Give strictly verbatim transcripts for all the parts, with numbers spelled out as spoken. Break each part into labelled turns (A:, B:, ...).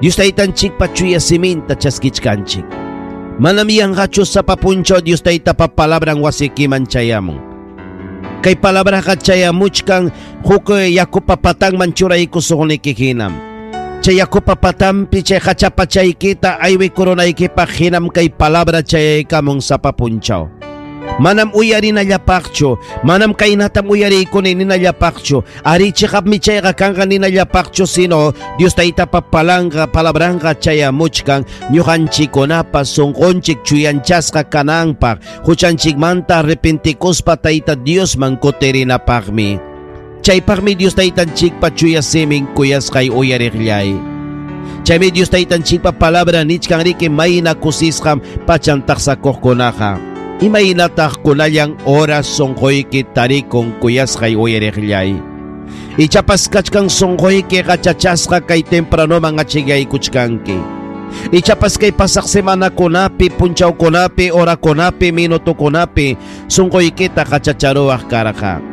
A: Dios Taytanchikpa chuya siminta chaskichkanchik. Manam yanqachu sapa punchaw Dios Taytapa palabran wasikiman chayamun. Kay palabraqa chayamuchkan huk yakupa patanman churaykusuqniki hinam. Chay yakupa patanpi chay hachapa chaykita aywikurunaykipaq hinam kay palabra chayaykamun sapa punchaw. Manam uyarinallapaqchu, manam kaynatam uyariykuni ninallapaqchu, ari chiqapmi chayqa kanqa ninallapaqchu, sino Dios Taytapa palanqa palabranqa chayamuchkan ñuqanchikkunapa sunqunchik chuyanchasqa kananpaq, huchanchikmanta arrepentikuspa Tayta Diosman kutirinapaqmi. Chaypaqmi Dios Taytanchikpa chuya simin kuyasqay uyariqllay. Chaymi Dios Taytanchikpa palabra nichkan riki mayna kusisqam pachan taqsakuqkunaqa. Imaynataq kunallan horas sunquyki tarikun kuyasqay uyariqllay. Ichapas kachkan sunquyki qachachasqa kay tempranoman achikaykuchkanki. Ichapas kay pasaq semanakunapi, punchawkunapi, horakunapi, minutukunapi sunquykita qachacharuwaq karqa.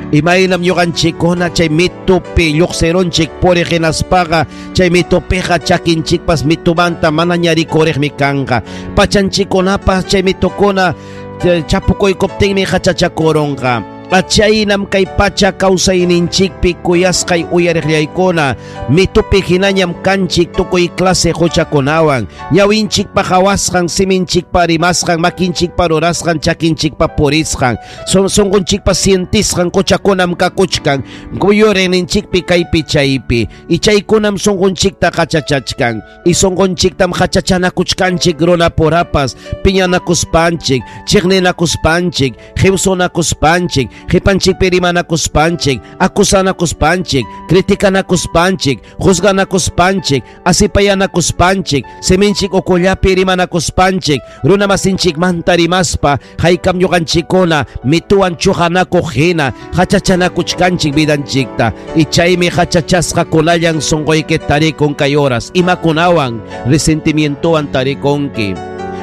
A: Imaynam ñuqanchikkuna chay mitupi lluqsirunchik puriq hinaspaqa chay mitupiqa chakinchikpas mitumanta manaña rikuriqmi kanqa. Pachanchikkunapas chay mitukuna chapukuykuptinmi qachachakurunqa. Achaynam kay pacha kawsayninchikpi kuyasqay uyariqllaykuna mitupi hinañam kanchik tukuy clase huchakunawan, ñawinchikpa qhawasqan, siminchikpa rimasqan, makinchikpa rurasqan, chakinchikpa purisqan, sunqunchikpa sientisqan huchakunam kakuchkan kuyuriqninchikpi kaypi chaypi, y chaykunam sunqunchikta qachachachkan, y sunqunchiktam qachachanakuchkanchik runapurapas, piñanakuspanchik, chiqninakuspanchik, hiwsunakuspanchik, qipanchikpi rimanakuspanchik, acusanakuspanchik, criticanakuspanchik, juzganakuspanchik, asipayanakuspanchik, siminchik ukullapi rimanakuspanchik, runamasinchikmanta rimaspa, haykam ñuqanchikkuna mituwan chuqanakuq hina, qachachanakuchkanchik vidanchikta, y chaymi qachachasqa kunallan sunquyki tarikun kay horas, imakunawan resentimientowan tarikunki.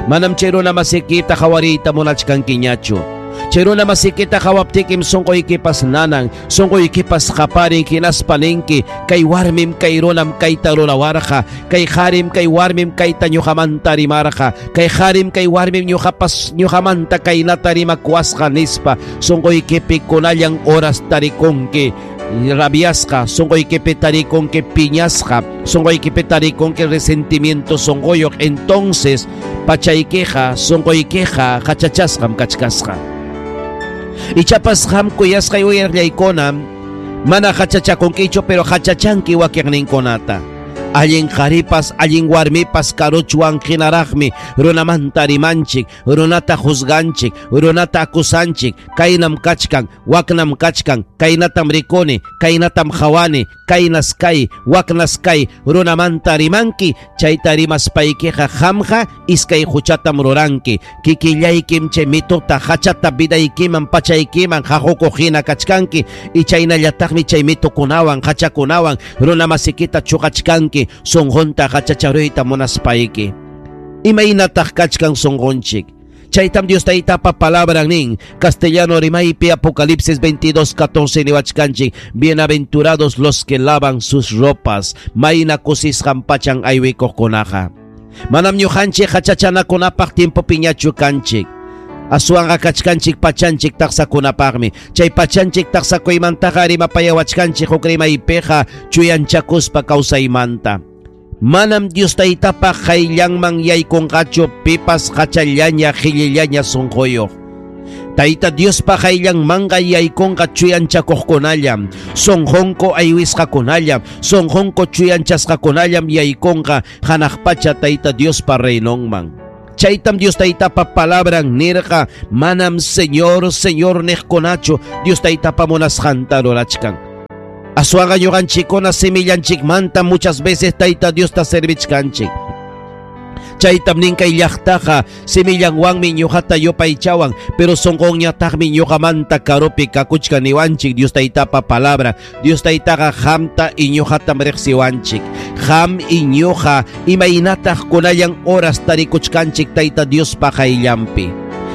A: Manam chay runamasikita qhawariyta munachkankiñachu. Chay runamasikita qhawaptikim sunquykipas nanan, sunquykipas qaparin hinaspa ninki, kay warmim kay runam kayta rurawarqa, kay qarim kay warmim kayta ñuqamanta rimarqa, kay qarim kay warmim ñuqapas ñuqamanta kaynata rimakuwasqa nispa, sunquykipi kunallan horas tarikunki rabiasqa, sunquykipi tarikunki piñasqa, sunquykipi tarikunki resentimiento sunquyuq, entonces pachaykiqa sunquykiqa qachachasqam kachkasqa. Ichapas qam kuyasqay uyariqllaykuna mana qachachakunkichu, pero qachachanki wakiqninkunata. Allin qharipas, allin warmipas karuchwan hinaraqmi runamanta rimanchik, runata juzganchik, runata acusanchik, kaynam kachkan, waknam kachkan, kaynatam rikuni, kaynatam qhawani, kaynas kay, waknas kay, runamanta rimanki, chayta rimaspaykiqa qamqa iskay huchatam ruranki, kikillaykim chay mituta hachata vidaykiman pachaykiman haqukuq hina kachkanki, y chaynallataqmi chay mitukunawan hachakunawan runamasikita chuqachkanki, sunqunta qachacharuyta munaspayki. Imaynataq kachkan sunqunchik? Chaytam Dios Taytapa palabran nin, castellano rimaypi Apocalipsis veintidós catorce niwachkanchik, bienaventurados los que lavan sus ropas, mayna kusisqan pachan aywikuqkunaqa. Manam ñuqanchik qachachanakunapaq tiempopiñachu kanchik. Aswanqa kachkanchik pachanchik taqsakunapaqmi. Chay pachanchik taqsakuymantaqa rimapayawachkanchik huk rimaypiqa chuyanchakuspa kawsaymanta. Manam Dios Taytapa qayllanman yaykunqachu pipas qachallaña qhillillaña sunquyuq. Tayta Diospa qayllanmanqa yaykunqa chuyanchakuqkunallam, sunqunku aywisqakunallam, sunqunku chuyanchasqakunallam yaykunqa hanaq pacha Tayta Diospa reinonman. Chaytam Dios Taytapa palabran nirqa, manam Señor, Señor niqkunachu Dios Taytapa munasqanta rurachkan. Aswanqa ñuqanchikkuna simillanchikmanta muchas veces Tayta Diosta servichkanchik. Chaytam nin kay llaqtaqa simillanwanmi ñuqata yupaychawan, pero sunqunñataqmi ñuqamanta karupi kakuchkan niwanchik Dios Taytapa palabra. Dios Taytaqa qamta y ñuqatam riqsiwanchik. Qam y ñuqa imaynataq kunallan horas tarikuchkanchik Tayta Diospa qayllanpi.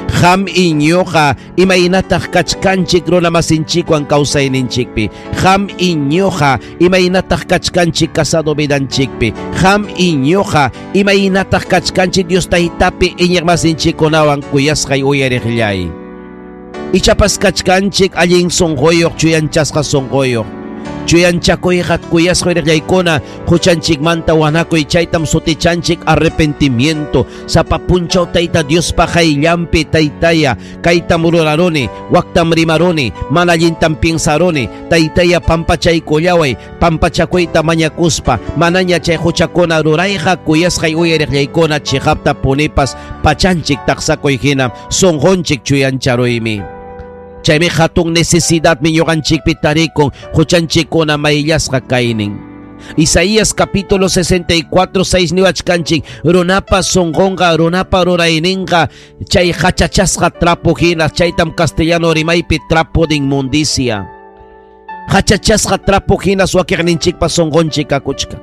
A: Qam iñuqa imaynataq kachkanchik runamasinchikwan kawsayninchikpi. Qam iñuqa imaynataq kachkanchik casado vidanchikpi. Qam iñuqa imaynataq kachkanchik Dios taytapi iñiqmasinchikkunawan kuyasqay uyariqllay. Ichapas kachkanchik allin sunquyuq chuyanchasqa sunquyuq. Chuyanchakuyqa kuyasqa uyariqllaykuna huchanchikmanta wanakuy chaytam sutichanchik arrepentimiento. Sapa punchaw Tayta Diospa qayllanpi taytaya kaytam ruraruni, waktam rimaruni, mana allintam piensaruni, taytaya pampachaykullaway, pampachakuyta mañakuspa manaña chay huchakuna rurayqa kuyasqay uyariqllaykuna chiqapta punipas pachanchik taqsakuy hina sunqunchik chuyancharuymi. Chaymi hatun necesidadmi ñuqanchikpi tarikun huchanchikkuna mayllasqa kaynin. Isaías capítulo sesenta y cuatro, seis niwachkanchik runapa sunqunqa runapa rurayninqa chay hachachasqa trapo hina chaytam castellano rimaypi trapo de inmundicia. Hachachasqa trapo hina wakiqninchikpa sunqunchik kakuchka.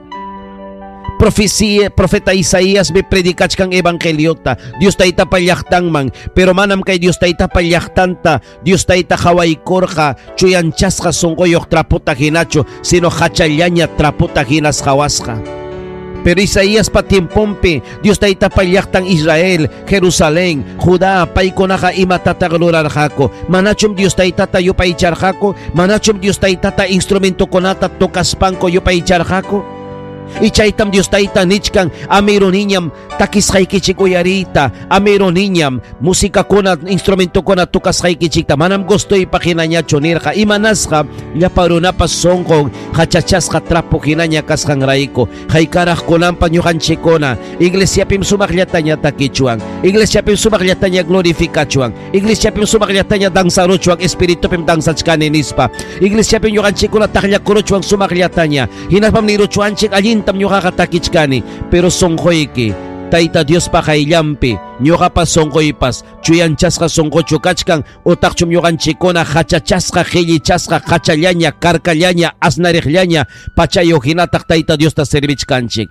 A: Profecía, profeta Isaías me predicachkan evangeliota, Dios taytapa llaqtanman, pero manam kay Dios taytapa llaqtanta, Dios tayta hawaykurqa, chuyanchasqa sunquyuq trapota hinachu, sino hachallaña trapota hinas hawasqa. Pero Isaías pa tiempompi, Dios taytapa llaqtan Israel, Jerusalén, Judá, paykunaqa imatataq rurarqaku. Manachum Dios taytata yupaycharqaku, manachum Dios taytata instrumentokunata tocaspanku yupaycharqaku. Y chaytam Dios tayta nichkan amiruniñam takisqaykichik uyariyta, amiruniñam musikakuna instrumentokuna tocasqaykichikta manam gustoypaq hinañachu nirqa. Imanasqa llapa runapas sunqun hachachasqa trapo hinaña kasqanrayku. Haykaraq kunanpa ñuqanchikkuna iglesiapim sumaqllataña takichuan, iglesiapim sumaqllataña glorificachuan, iglesiapim sumaqllataña danzaruchuan, espiritupim danzachkani nispa, iglesiapim ñuqanchikkuna taqllakuruchuan sumaqllataña, hinaspam niruchuanchik allin tam ñuqaqa takichkani, pero sunquyki Tayta Diospa qayllanpi ñuqapas sunquypas chuyanchasqa sunquchu kachkan utaqchum ñuqanchikkuna hachachasqa qillichasqa hachallaña karkallaña asnariqllaña pachayuq hinataq Tayta Diosta servichkanchik.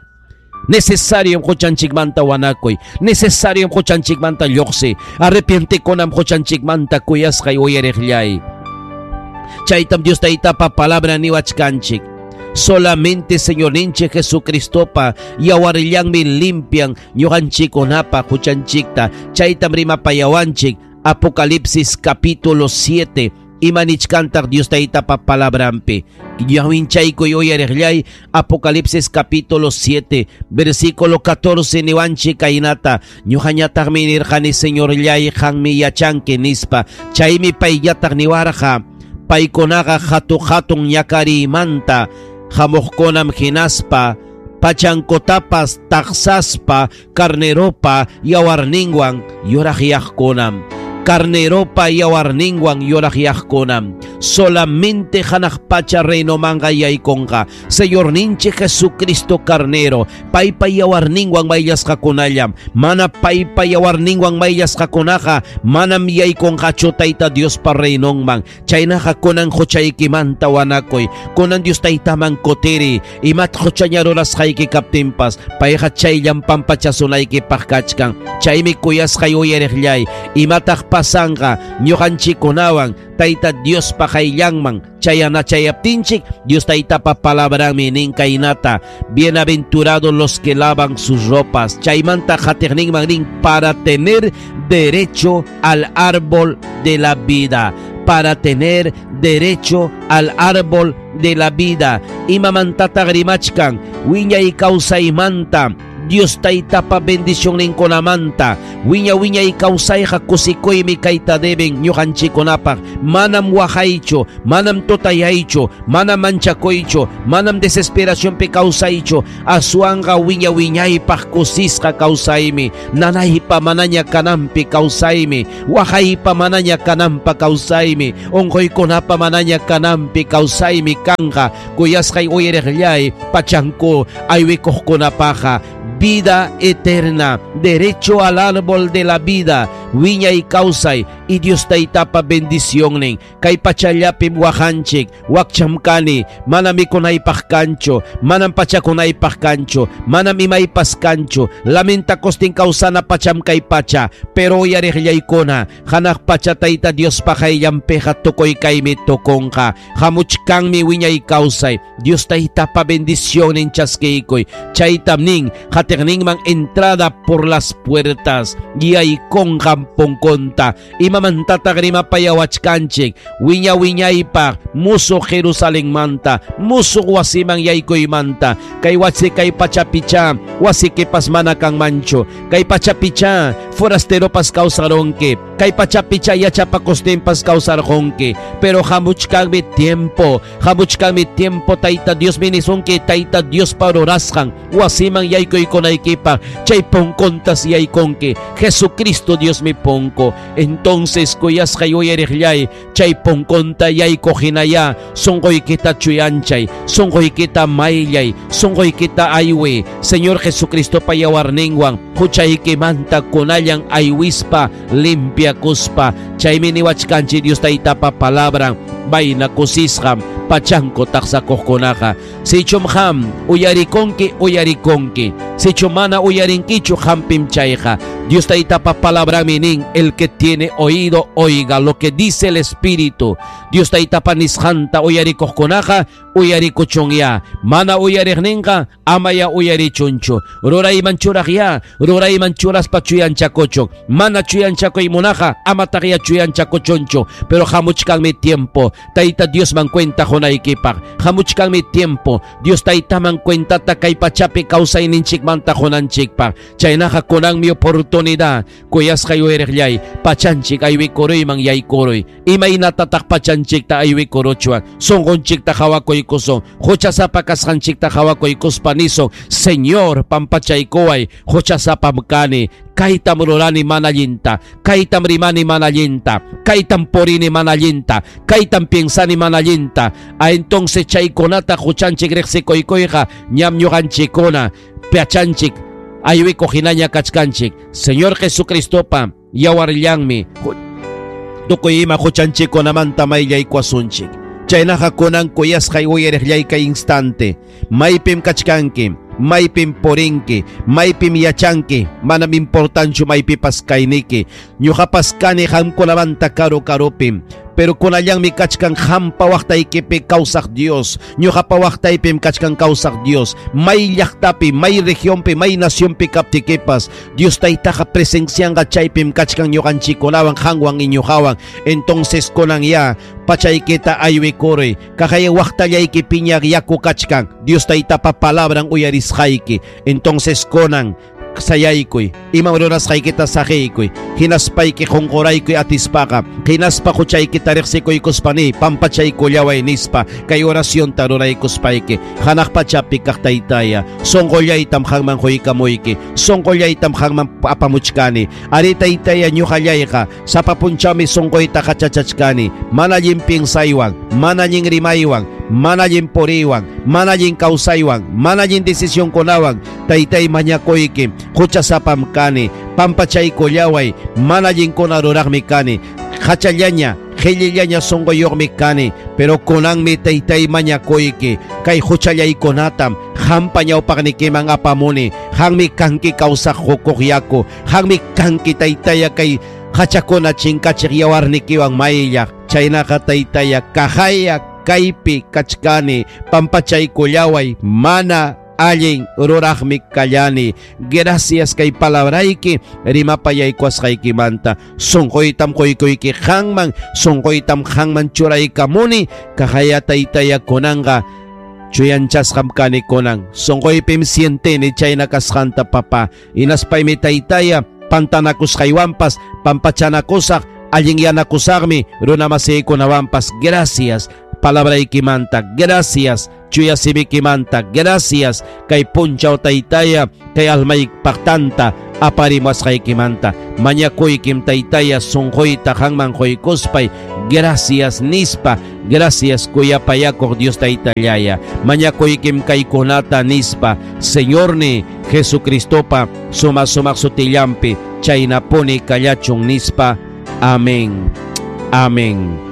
A: Necesario huchanchikmanta wanakuy, necesario huchanchikmanta lluqsi, arrepientekunam huchanchikmanta kuyasqay uyariqllay. Chaytam Dios taytapa palabra niwachkanchik. Solamente Señorninchik Jesucristopa yawarllanmi limpian ñuqanchikkunapa huchanchikta. Chaytam rimapayawanchik Apocalipsis capítulo siete. Imanichkantaq Dios taytapa palabrampi. Ñawinchaykuy uyariqllay Apocalipsis capítulo siete versículo catorce niwanchik kaynata. Ñuqañataqmi nirqani Señorllay qanmi yachanki nispa. Chaymi payllataq niwarqa paykunaqa hatu hatun ñakarimanta hamuqkunam hinaspa pachankotapas taqsaspa carneropa yawarninwan yuraqyaqkunam. Carneropa yawarninwan yuraqyaqkunam. Solamente hanaq pacha reinomanqa yaykunqa Señorninchik Jesucristo carnero paypa yawarninwan mayllasqakunallam. Mana paypa yawarninwan mayllasqakunaqa manam yaykunqachu Tayta Diospa reinonman. Chaynaqa kunan huchaykimanta wanakuy, kunan Dios taytaman kutiri, imat huchaña rurasqayki kaptinpas payqa chayllam pampachasunaykipaq kachkan. Chaymi kuyasqay uyariqllay, imataq pasanqa ñuqanchikkunawan Tayta Diospa qayllanman chayana chayaptinchik, Dios taytapa palabranmi nin kaynata: bienaventurados los que lavan sus ropas. Chaymanta qatiqninman nin para tener derecho al árbol de la vida, para tener derecho al árbol de la vida. Imamantataq rimachkan wiñay kawsaymanta, Dios taytapa bendicionninkunamanta. Wiña wiñay kawsayqa kusikuymi kayta deben ñuqanchikkunapaq. Manam waqaychu, manam tutayaychu, manam manchakuychu, manam desesperacionpi kawsaychu. Aswanqa wiña wiñaypaq kusisqa kawsaymi, nanaypa manaña kananpi kawsaymi, waqaypa manaña kananpa kawsaymi, unquykunapa manaña kananpi kawsaymi kanqa. Kuyasqay uyariqllay pachanku aywikuqkunapaqa vida eterna, derecho al árbol de la vida, wiñay kawsay y Dios taytapa bendicionnin. Kay pachallapim waqanchik, wakcham kani, manam mikunaypaq kanchu, manam pachakunaypaq kanchu, manam imaypas kanchu, lamentakustin kawsana pacham kay pacha, pero uyariqllaykuna, hanaq pacha tayta Diospa qayllanpiqa tukuy kaymi tukunqa, hamuchkanmi wiñay kawsay, Dios taytapa bendicionnin chaskiykuy, chaytam nin, hatiqninman entrada por las puertas, yaykunqam punkunta, imamantataq rimapayawachkanchik, wiña wiñaypaq, musuq Jerusalenmanta, musuq wasiman yaykuymanta, kay wasi kay pachapicha, wasikipas mana kanmanchu, kay pachapicha, forasteropas kawsaronki, kay pachapicha yachapakustinpas kawsarqunki, pero hamuchkanmi tiempo, hamuchkanmi tiempo tayta Dios minisunki, tayta Diospa rurasqan, wasiman yaykuykunaykipaq, chay punkuntas yaykunki, Jesucristo Dios mi punku. Entonces kuyasqay uyariqllay, chay punkunta yaykuqhinaya, sunquykita chuyanchay, sunquykita mayllay, sunquykita aywi, Señor Jesucristopa yawarninwan, huchaykimanta kunallan aywispa, limpiakuspa, chaymi niwachkanchik Dios taytapa palabran, mayna kusisqam pachanku taqsakuqkunaqa. Sichum qam uyarikunki, uyarikunki, sichum mana uyarinkichu hampim chayqa. Dios taytapa palabranmi nin, el que tiene oído oiga lo que dice el Espíritu. Dios taytapa nisqanta uyarikuqkunaqa uyarikuchunya, mana uyariqninqa amaya uyarichunchu. Rurayman churaqya, rurayman churaspa chuyanchakuchun, mana chuyanchakuymunaqa amataqya chuyanchakuchunchu. Pero hamuchkanmi tiempo, tayta Diosman cuenta qunaykipaq, hamuchkanmi tiempo, Dios taytaman cuentata kay pachapi kawsayninchikmanta qunanchikpaq. Chaynaqa kunanmi oportunidad, kuyasqay uyariqllay, pachanchik aywikuruyman yaykuruy. Imaynatataq pachanchikta aywikuruchwan, sunqunchikta qhawakuykusun, huchasapa kasqanchikta qhawakuykuspa nisun, Señor pampachaykuway, huchasapam kani, kaytam rurani mana allinta, kaytam rimani mana allinta, kaytam purini mana allinta, kaytam piensani mana allinta. A entonces chaykunata huchanchik riqsikuykuyqa ñam ñuqanchikkuna pachanchik aywikuq hinaña kachkanchik. Señor Jesucristopa yawarllanmi tukuy ima huchanchikkunamanta mayllaykuwasunchik. Chaynaqa kunan kuyasqay uyariqllay kay instante, maypim kachkanki, maypim purinki, maypim yachanki, manam importanchu maypipas kayniki, ñuqapas kani qamkunamanta karu karupim, pero kunallanmi kachkan qampa waqtaykipi kawsaq Dios, ñuqapa waqtaypim kachkan kawsaq Dios, may llaqtapi, may regionpi, may nacionpi kaptikipas, Dios taytaqa presencianqa chaypim kachkan ñuqanchikkunawan qanwan y ñuqawan. Entonces kunan ya pachaykita aywikuruy, kaqay waqtallayki piñaq yaku kachkan, Dios taytapa palabran uyarisqayki. Entonces kunan sayaykuy, imam rurasqaykita saqiykuy, hinaspayki qunquraykuy atispaqa, hinaspa huchaykita riqsikuykuspani pampachaykullaway nispa kay oracionta ruraykuspayki. Hanaq pachapi kaq taytaya, sunqullaytam qanman quykamuyki, sunqullaytam qanman apamuchkani. Ari taytaya ñuqallayqa sapa punchawmi sunquyta qachachachkani, mana allin piensaywan, mana allin rimaywan, mana allin puriywan, mana allin kawsaywan, mana allin decisionkunawan, taytay mañakuyki, huchasapam kani, pampachaykullaway, mana allinkuna ruraqmi kani, hachallaña, qillillaña sunquyuqmi kani, pero kunanmi taytay mañakuyki, kay huchallaykunatam qampa ñawpaqnikiman apamuni, qanmi kanki kawsaq qukuq yaku, qanmi kanki taytaya kay hachakuna chinkachiq yawarnikiwan mayllaq. Chaynaqa taytaya kaqaya kaypi kachkani, pampachaykullaway, mana allin ruraqmi kallani. Gracias kay palabrayki rimapayaykuwasqaykimanta. Sunquytam quykuyki qanman, sunquytam qanman churaykamuni, kaqaya taytaya kunanqa chuyanchasqam kani kunan. Sunquypim sientini chayna kasqanta papá. Hinaspaymi taytaya pantanakusqaywanpas pampachanakusaq, allinyanakusaqmi runamasiykunawanpas. Gracias palabraykimanta, gracias chuya simikimanta, gracias kay punchaw taytaya, kay almaypaqtanta Aparimuwasqaykimanta mañakuykim Taytaya sunquyta qanman quykuspay gracias nispa, gracias kuyapayakuq Dios Taytallaya. Mañakuykim kaykunata nispa, Señorni Jesucristopa suma sumaq sutillampi chaynapuni kallachun nispa. Amén. Amén.